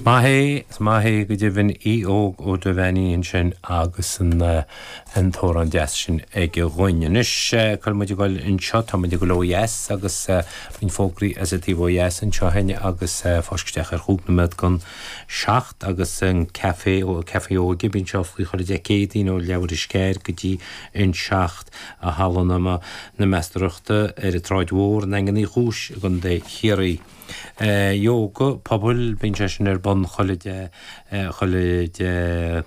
Is maith é, is maith é go deimhin Aodh Óg Ó Duibheannaigh ansin agus an an t-amhrán deas sin aige dhúinn. Anois cuirfidh muid ag dul anseo, tá muid ag dul ó dheas agus roinnt fógraí as an taobh ó dheas anseo againn agus fáisc isteach ar chúig nóiméad don seacht agus an caife, caife óige, bíonn sé oscailte chuile Dé Céadaoin ó leathuair théis 4 go dtí an 7 i Halla na Meastóireachta ar an tSráid Mhór i nDaingean Uí Chúis i gContae Chiarraí. Ióga pobail, bíonn sé sin ar bun chuile Dé, chuile Dé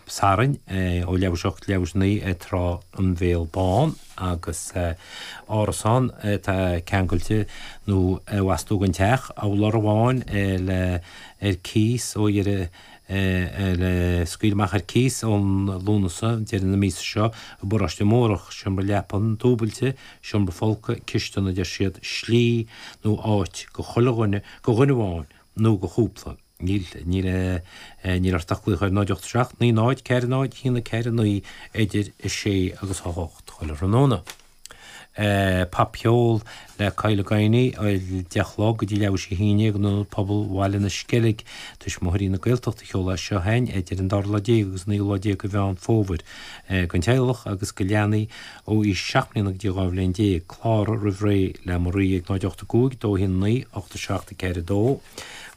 Sathairn ó leathuair théis 8 go leathuair théis 9 ag Trá an Bhéal Bán agus árasán atá ceangailte nó i bhfastú den teach, urlár amháin le ar cíos ó dheireadh le scaoileadh amach ar cíos ón Lúnasa, deireadh na míosa seo, i bParóiste Mórdhach, seomra leapan dúbailte, seomra folctha, cistin a deir siad, slí nó áit go chuile dhuine, go dhuine amháin nó go chúpla. Níl, níl, níl ort ach glaoch ar 0 8 7 9 0 4 0 1 4 9 idir 6 agus 8 chuile thráthnóna. Popcheol le Kyle Guiney, 10 a chlog go dtí leathuair théis 11 in Ionad Pobail Bhaile na Sceilge, Tuismitheoirí na Gaeltachta a sheol é seo chugainn idir an dara lá déag agus an naoú lá déag de Mheán Fómhair. Don teaghlach agus go leanaí ó aois 7 mbliana go dtí 12 bhliain. Cláraigh roimh ré le Marie ag 0 8 5 2 1 9 8 7 4 2.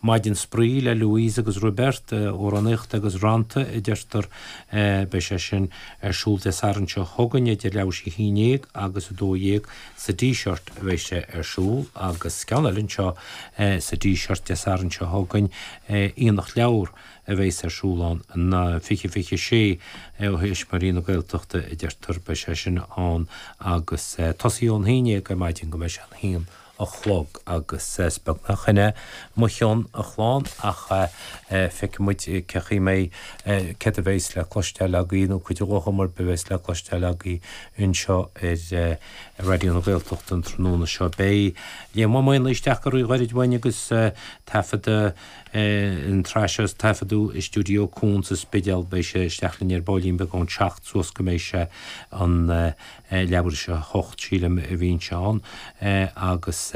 Maidin Spraoi le Louise agus Roibeart, amhránaíocht agus rannta a deirtear. Beidh sé sin ar siúl Dé Sathairn seo chugainn idir leathuair théis 11 agus 12 sa Díseart a bheidh sé ar siúl agus ceann eile anseo sa Díseart Dé Sathairn seo chugainn, Aonach Leabhar a bheas ar siúl ann 20 26 ó Thuismitheoirí na Gaeltachta a deirtear, beidh sé sin ann agus tosaí ón 11 ar maidin go mbeidh sé an haon a chlog agus is beag nach in é mo chion, a chlann, ach feicfidh muid cé chaoi mbeidh, céard a bheas le cloisteáil agaibh nó cuid de ghuthanna a bheas le cloisteáil agaibh anseo ar Raidió na Gaeltachta an tráthnóna seo. Beidh Liam Ó Maonlaí isteach go réidh gairid uainn agus taifeadadh an tsraith seo taifeadadh i stiúideo Cuan sa Spidéal. Beidh sé isteach linn ar baillín beag ón seacht suas go mbeidh sé an leathuair théis a hocht, sílim, a bhíonn sé ann agus.